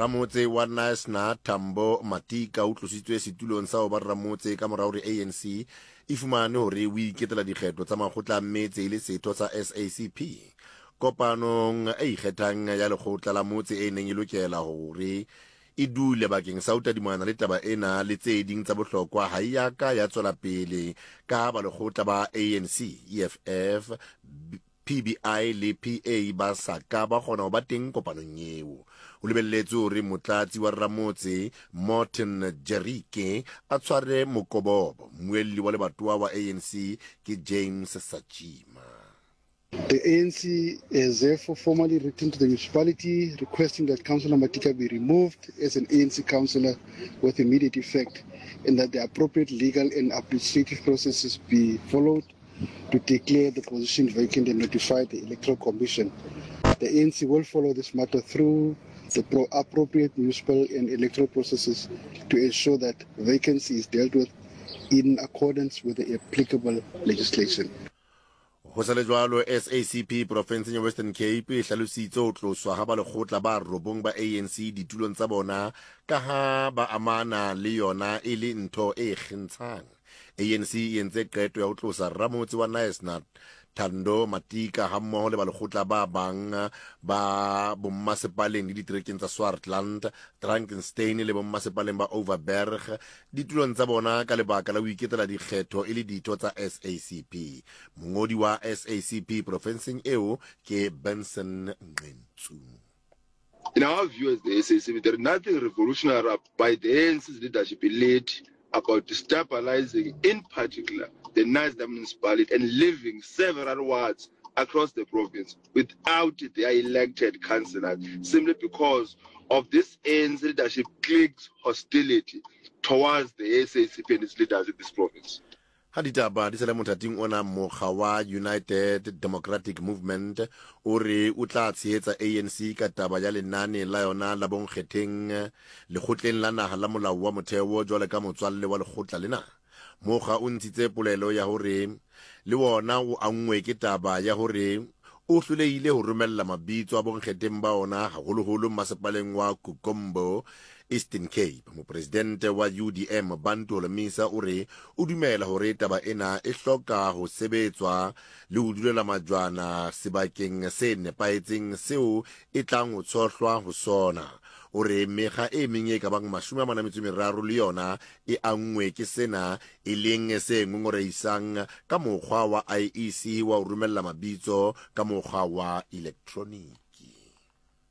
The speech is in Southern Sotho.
Ramotse wa Knysna Tambo Matika o tlositswe setulong sa ho ba ramotse ka mora hore ANC e fumane hore o iketela dikgetho tsa makgotla a metse e le setho sa SACP. Kopanong e ikgethang ya lekgotla la motse e neng e lokela hore e dule bakeng sa ho tadimana le taba ena le tse ding tsa bohlokwa ha e ya ka ya tswela pele ka ha balekgotla ba ANC, EFF, PBI le PA ba sa ka ba kgona ho ba teng kopanong eo. Ho lebelletswe hore motlatsi wa ramotse Morton Jerike a tshware mokobobo. Mmuelli wa lebatowa wa ANC ke James Sachima. The ANC has therefore formally written to the municipality requesting that Councillor Matika be removed as an ANC councillor with immediate effect and that the appropriate legal and administrative processes be followed to declare the position vacant and notify the Electoral Commission. The ANC will follow this matter through the pro appropriate municipal and electoral processes to ensure that vacancy is dealt with in accordance with the applicable legislation. Ho sa le jwalo, SACP porofenseng ya Western Cape e hlalositse ho tloswa ha balekgotla ba robong ba ANC ditulong tsa bona ka ha ba amana le yona e le ntho e kgentshang. ANC e entse qeto ya ho tlosa ramotse wa Knysna Thando Matika hammoho le balekgotla ba bang ba bommasepaleng le diterekeng tsa Swartland, Drakenstein le bommasepaleng ba Overberg ditulong tsa bona ka lebaka la ho iketela dikgetho e le ditho tsa SACP. Mongodi wa SACP profenseng eo ke Benson Nqentsu. In our view as the SACP, there is nothing revolutionary by the ANC's leadership elite about destabilizing, in particular, the Knysna municipality and leaving several wards across the province without their elected councillors, simply because of this ANC leadership clique's hostility towards the SACP and its leaders in this province. Ha ditaba di sa le mothating ona, mokga wa United Democratic Movement o re o tla tshehetsa ANC ka taba ya lenane la yona la bonkgetheng lekgotleng la naha la molao wa motheo jwalo ka motswalle wa lekgotla lena. Mokga o ntshitse polelo ya hore le wona o anngwe ke taba ya hore o hlolehile ho romella mabitso a bonkgetheng ba ona haholoholo mmasepaleng wa Kukombo, Eastern Cape. Mopresidente wa UDM Bantu Holomisa o re o dumela hore taba ena e hloka ho sebetswa le ho dulela majwana sebakeng se nepahetseng seo e tlang ho tshohlwa ho sona. O re mekga e meng e ka bang 43 le yona e anngwe ke sena, e leng se ngongorehisang ka mokgwa wa IEC wa ho romella mabitso ka mokgwa wa elektroniki.